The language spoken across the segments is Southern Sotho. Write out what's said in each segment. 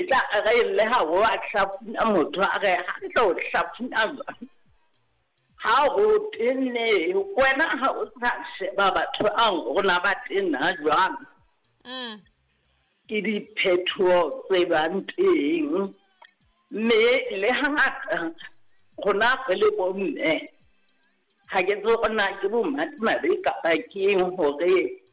E tla re le ha o a hlafuna motho a re hantle o hlafuna jwang? Ha o tenne wena ha o sa sheba batho ang rona ba tena jwang. Ke diphethoho tse bang teng. Mme le hangata rona re le bomme ha ke tsebe hore na ke bomadimabe kapa ke eng hore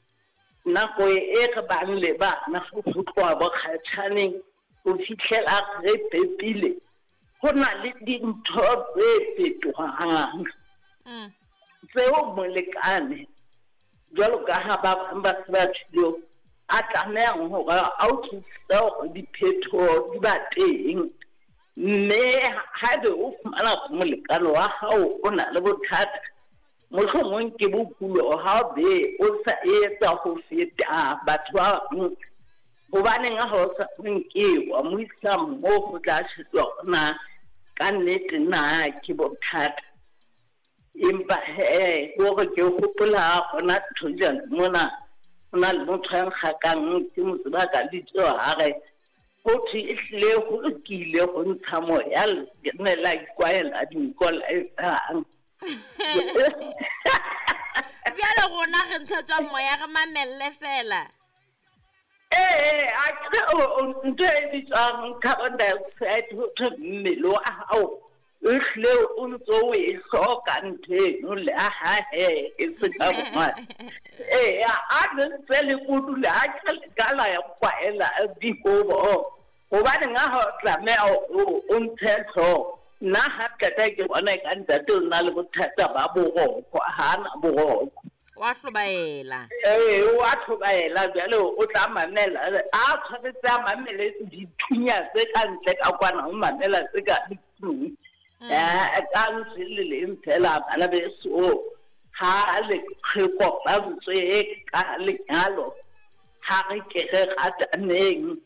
nako e re bang le bana ho tloha bokgatjhaneng ho fihlela re pepile ho na le dintho tse fetohang tseo molekane jwalo ka ha ba bang ba se ba tjhilo a tlamehang hore a utlwisise hore diphethoho di ba teng. Mme haebe o fumana hore molekane wa hao o na le bothata, mohlomong ke bokulo ha o be o sa etsa ho feta batho ba bang, hobaneng ha o sa nke wa mo isa moo ho tla shejwa hore na ka nnete na ke bothata. Empa he hore ke hopola hona ntho jana mona ho na le motho ya nkgakang ke mo tseba ka lebitso ha re ho thwe ehlile ho lokile ho ntsha moya ne la ikwaela dinko la etsang. Bjale rona re ntshetswa moya re mamelle fela. Ee, a ke ntho e bitswang carbon dioxide ho thwe mmele wa hao o hlile o ntso o e hloka ntho eno le ha he e se ka bongata. Ee, a le ntse le kodula a ke le ka la ya kwaela dikobo hobaneng ha o tlameha o ntshe hlooho. Nna ha qeta ke bona e ka ntate o na le bothata ba boroko, ha na boroko. Wa hlobaela. Ee, wa hlobaela jwale o tla mamela a tshwanetse a mamele dithunya tse ka ntle ka kwana o mamela tse ka tlung. Ka ntswe le leng fela bana beso ha le re kopantswe ka lenyalo ha re ke re rataneng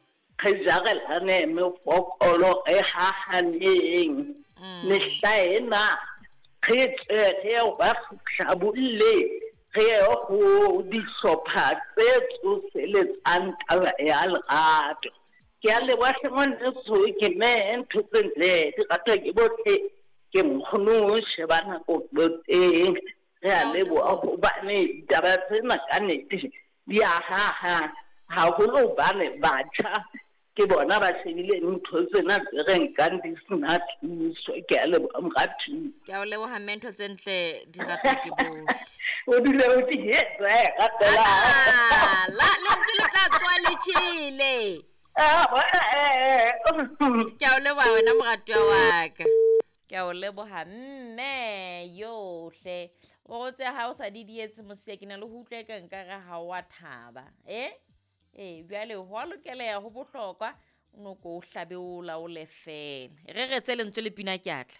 re jarelane mefokolo re hahaneng. Mehla ena re tle re ba hlabolle re ye ho dihlopha tse tsoseletsang taba ya lerato. Ke a leboha hle ngwaneso ke mme ntho tse ntle di ratwa ke bohle ke nkgono sheba nako teng. Re a leboha hobane ditaba tsena ka nnete di a haha haholo hobane batjha ke bona ba shebile ntho tsena tse re nkang di sena thuso. Ke a leboha moratuwa. Ke a o leboha mme ntho tse ntle di ratwa ke bohle. O dule o tihetse ratela. La lentswe le tla tswa le tjhele. Ke a o leboha wena moratuwa wa ka. Ke a o leboha mme yohle. O rotse ha o sa di dietse mosiya ke na le ho utlwa e ka nkare ha o a thaba. Bjale ho a lokeleha ho bohlokwa o no ko o hlabe o laole fela. Re re tse lentswe le pina ke atla.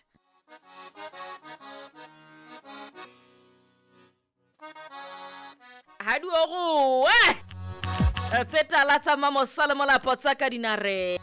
Ha di o roe. Tse tala tsa Mamosa le Molapo tsa ka dinare.